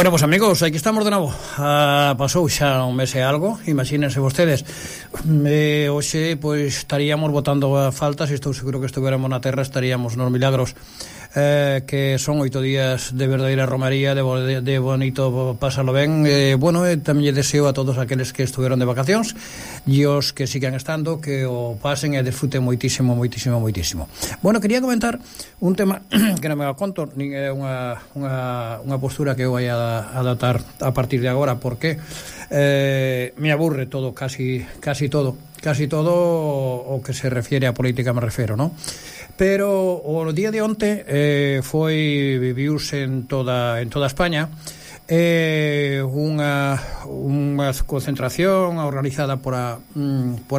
Bueno, pues amigos, aquí estamos de novo. Pasou xa un mes e algo, imagínense vostedes. Hoxe, pois, estaríamos botando a falta, se estou seguro que estuviéramos na terra, estaríamos nos milagros. Que son 8 días de verdadeira romaría, de bonito pásalo ben. Bueno, tamén lle deseo a todos aqueles que estuveron de vacacións e os que sigan estando, que o pasen e disfruten moitísimo. Bueno, quería comentar un tema que non me conto, nin é unha postura que eu vai a adaptar a partir de agora, porque me aburre todo, casi todo o que se refiere a política, me refero, non? Pero o día de onte viviuse en toda España unha concentración organizada por a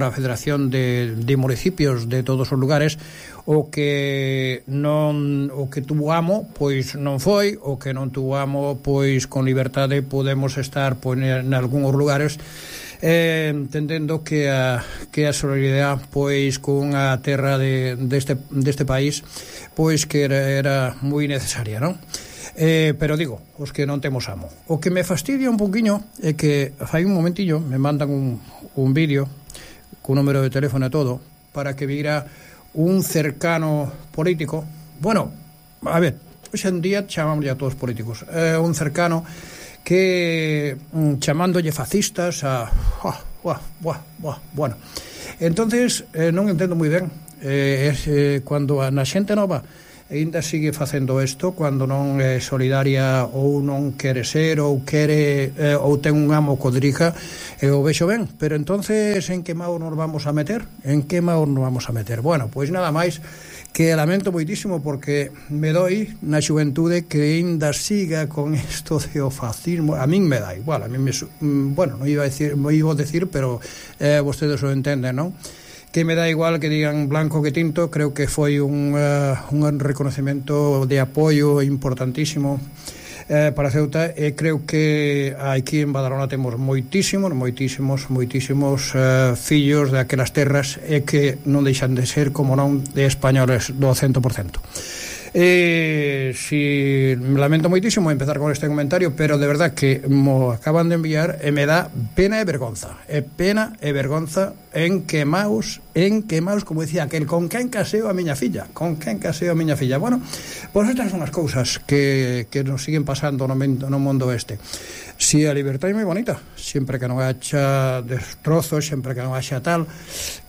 Federación de Municipios de todos os lugares. O que tuvo amo, pois non foi, o que non tuvo amo, pois con liberdade podemos estar en algúns lugares, entendendo que a solidaridade, pois con a terra deste país, pois que era moi necesaria, non? Pero digo, os que non temos amo. O que me fastidia un poquinho é que fai un momentillo me mandan un vídeo con número de teléfono e todo, para que vira un cercano político. Bueno, a ver, hoxe en día chamamos a todos políticos, un cercano que chamándolle fascistas bueno, entonces non entendo moi ben cando na xente nova ainda sigue facendo isto, cando non é solidaria ou non quere ser ou ten un amo que o dirija, eu vexo ben, pero entonces en que mau nos vamos a meter? Bueno, pois nada máis que lamento moitísimo, porque me doi na xuventude que ainda siga con isto de o fascismo. A min me dá igual, a min bueno, non iba a decir, pero vostedes o entenden, non? Que me dá igual que digan blanco que tinto. Creo que foi un reconocemento de apoio importantísimo para Ceuta, e creo que aquí en Badalona temos moitísimos fillos daquelas terras, e que non deixan de ser, como non, de españoles do 100%. Si lamento moitísimo empezar con este comentario, pero de verdad que mo acaban de enviar e me dá pena e vergonza en quemaos, como decía aquel, con quen caseo a miña filla. Bueno, pois estas son as cousas que nos siguen pasando no mundo este. Si a libertad é moi bonita, sempre que non haxa destrozos, sempre que non haxa tal,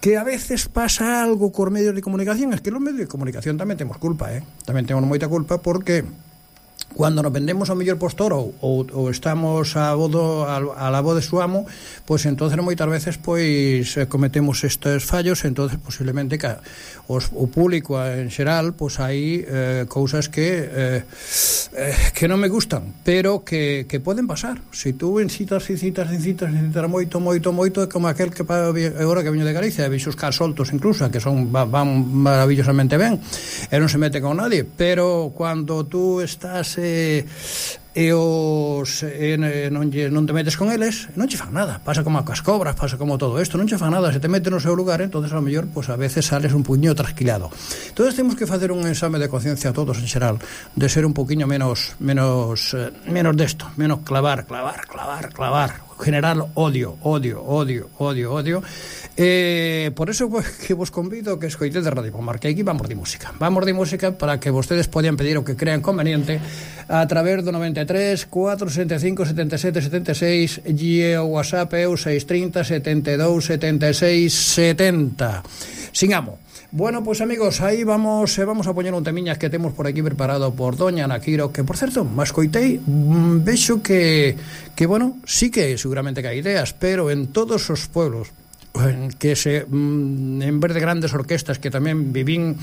que a veces pasa algo cos medios de comunicación. Es que los medios de comunicación tamén temos culpa, tamén temos moita culpa, porque cando nos vendemos ao mellor postor ou estamos a la voz de su amo, pois entonces moitas veces pois cometemos estes fallos. Entonces posiblemente que o público en xeral, pois hai cousas que non me gustan, pero que poden pasar. Se tú incitas moito, é como aquel que agora que veño de Galicia, e vexo os cas soltos incluso, que van maravillosamente ben e non se mete con nadie, pero cando tú estás non te metes con eles, non che fan nada. Pasa como as cobras, pasa como todo isto, non che fan nada. Se te mete no seu lugar, entonces a lo mellor a veces sales un puño trasquilado. Entonces temos que facer un exame de conciencia a todos en xeral, de ser un poquinho menos desto, menos clavar, general odio. Por eso que vos convido que escoitedes de Radio Pomar, que aquí vamos de música para que vostedes podan pedir o que crean conveniente a través do 93 465 77 76 e o WhatsApp é o 630 72 76 70. Sigamos. Bueno, pues amigos, aí vamos a poñer un temiñas que temos por aquí preparado por doña Ana Quiro, que por certo, mas coitei, vexo que bueno, sí que seguramente que hai ideas, pero en todos os pueblos que en vez de grandes orquestas, que tamén vivín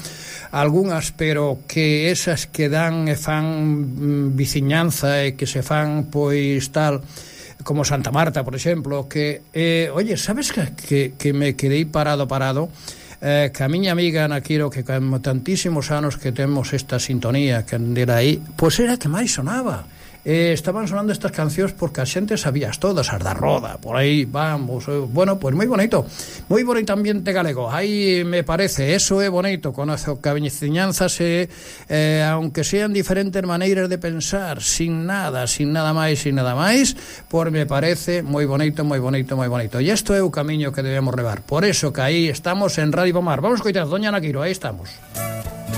algunhas, pero que esas que dan e fan viciñanza e que se fan pois tal, como Santa Marta, por exemplo, que oye, sabes que me quedei parado que a miña amiga Ana Quiro, que con tantísimos anos que temos esta sintonía, que era aí, pois era que máis sonaba. estaban sonando estas cancións porque a xente sabías todas, as da Roda, por aí vamos, bueno, pues moi bonito ambiente galego, aí me parece, eso é bonito, conoce que a veciñanza se, aunque sean diferentes maneiras de pensar, sin nada máis, por me parece moi bonito, e isto é o camiño que debemos levar, por eso que aí estamos en Radio Pomar. Vamos coitar, doña Ana Quiro, aí estamos.